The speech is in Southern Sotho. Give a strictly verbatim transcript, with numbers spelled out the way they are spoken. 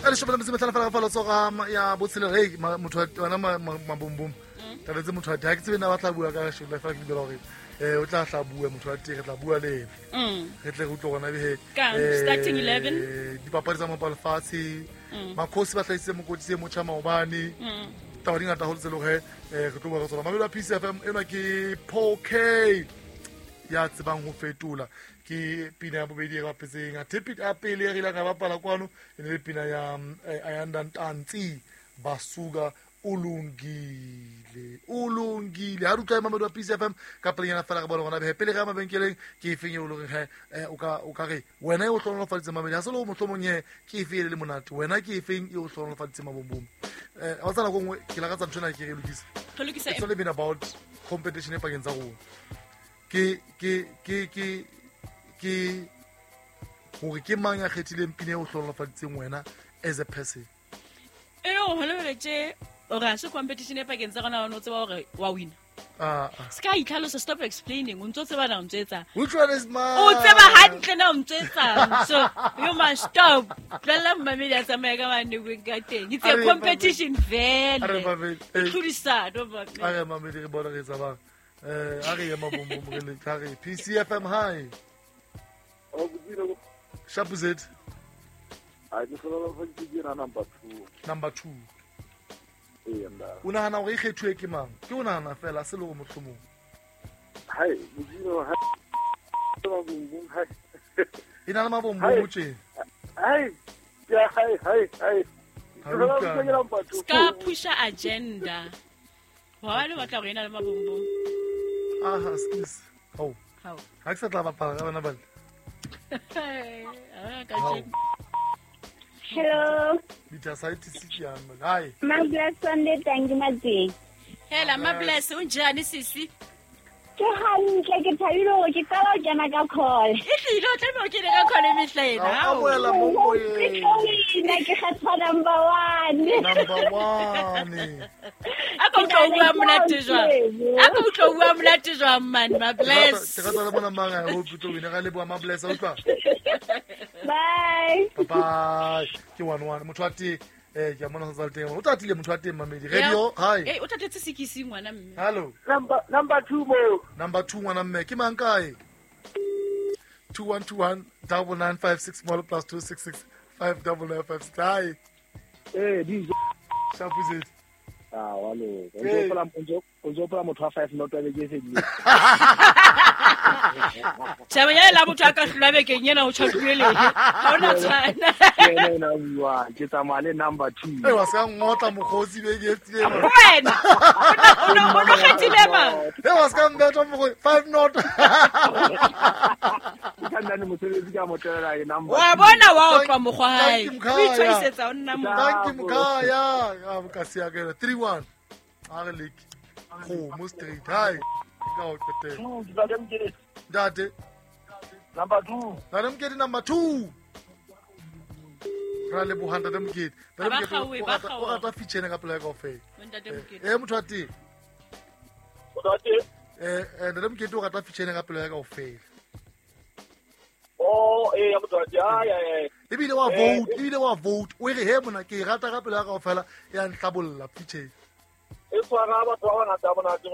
A leshome le metso e mehlano fela ka fa letsogo ya botshelela. Hei, motho wa- wena mabombom tabetse motho wa teng, ha ke tsebe na ba tla bua ka shela fela, ke dumela gore um o tla tla bua motho wa teng, re tla bua le ena. Mm. Re tle re utlwe gona be Kang, starting eleven? Dipapadi tsa mapa lefatshe, makgosi ba hlahisitse mokotsi e motjha maobane. Mm. Taba di ngata haholo tse leng gore um re tlo bua ka tsona. Mamelo a P C F M, enwa ke Paul K ya tsebang ho fetola, ke pina ya bobedi e re bapetseng. Athe ya pele e re ileng ra bapala kwano e ne le pina ya mm, eh, Ayanda Ntanzi, Basuka Ulungile. Ulungile ha re utlwa mamedi wa P C F M ka pelenyana fela, re bone gona behe pele re ya mabenkeleng, ke efeng eo e leng he eh, o ka o ka re wena e o hlohonolofaditseng mamedi, ha se le ho mohlomong he ke efe e le le monate, wena ke efeng e o hlohonolofaditseng mabombom? um wa tsa nako nngwe ke lakatsa ntho ena ke re e lokise. Re lokisa. It's only been about competition e pakeng tsa rona, ke ke ke ke ke hore ke mang ya kgethileng pina e o hlohonolofaditseng wena as a person. E le gore gone jwale tje ore ha se competition e pakeng tsa rona, o tseba gore wa wina. Ah, ah. Se ka itlhalosa, stop explaining, o ntso tseba na o ntso etsang. Which one is mine? O tseba hantle na o ntso etsang, so you must stop, tlohella mmamedi a tsamaye ka mane ka teng. It's a A re, competition A re, vele. Mamedi, eh. Tlhodisano, mamedi. A re mamedi, re bone re etsa bang. um a re ye mabombom, re le a re P C F M, hi. Sharp Z. A ke hlohonolofaditswe ke ena number two. Number two. Ee, nda. O nahana hore e kgethuwe ke mang? Ke o nahana fela se le gore mohlomong. Hai, modimo, hai mabumbum, hai. E na le mabombom tje. Hai ya, hai hai hai. Ha re utlwane. Number two. Ska pusha agenda wa le batla gore e na le mabombom. Aha, skis hao. Hao. Ha ke sa tla bapala ka bana bale. Ah, ka Hao. tjena. Hello, Bitasitis ke yang mane. Hi. Mabless Sunday, thank you Matseng. Hela Mabless, unjani sisi? Ke hantle, ke thabile hore ke qala ho kena ka call. E tlile, o tlameha o kene ka call e mehla ena. Ao, Hao. amohela mo Ke moyeng. tlo wina, ke kgetha number one. Number one. A ko utlwa o bua monate jwang, a ko utlwa o bua monate jwang man, Mabless. Ke rata le bona mang a hope tlo wina. Ra leboha Mabless, a utlwa. Bye. Bye. Ke one one. Motho wa teng eh ke a mona sa teng. O tatile motho wa teng mamedi. Radio, hi. Eh, o tatetse sekisi ngwana mme. Hello. number number two mo. Number two, ngwana mme. Ke mang kae? two one two one nine nine five six small plus two six six five nine nine five six. Hi. Eh, D J. Sharp Z. Ah, wa loka. O Ee. ntso hopola- o ntso- o ntso hopola motho wa five not wa beke e fedileng. Tjhaba ya la motho a ka hlolwa bekeng ena, o tjhakuwe lehe, ha ona tshwana. Ke ena ena a buang. Ke tsamaya le number two. Eh, wa ska ngotla mokgotsi beke e fetileng. Wena o no o no kgethile mang? Eh, wa ska mbetha mokgotsi. Five not. Ke ka nnane mosebetsi ka mo tlohela ke number Wa two. bona, wa otlwa mokgwa hae. Thank you, O Mkhaya. itshwaisetsa o nna mo. Thank you, Mkhaya. Ah, ka siya ke three one. A re leke. Kgomo straight. Hi. Ka o qetela. Ntate Mokete. Ntate. Number two. Ntate Mokete, number two. Ra leboha Ntate Mokete. Ntate Ba Mokete kgaowe, o ba rata- o kgaowa. rata feature ena ka pela ya kaofela. Ntate Mokete. Eh, motho wa teng. Motho wa teng. Eh, eh, Ntate Mokete o rata feature ena ka pela ya kaofela. Oh, eh ya motho wa teng. Ai ai ai. Ebile wa Eh, vote, ebile wa vote. O e re he mona ke e rata ka pela ya kaofela, ya nhlabolla feature. E tshwara batho ba bangata monate.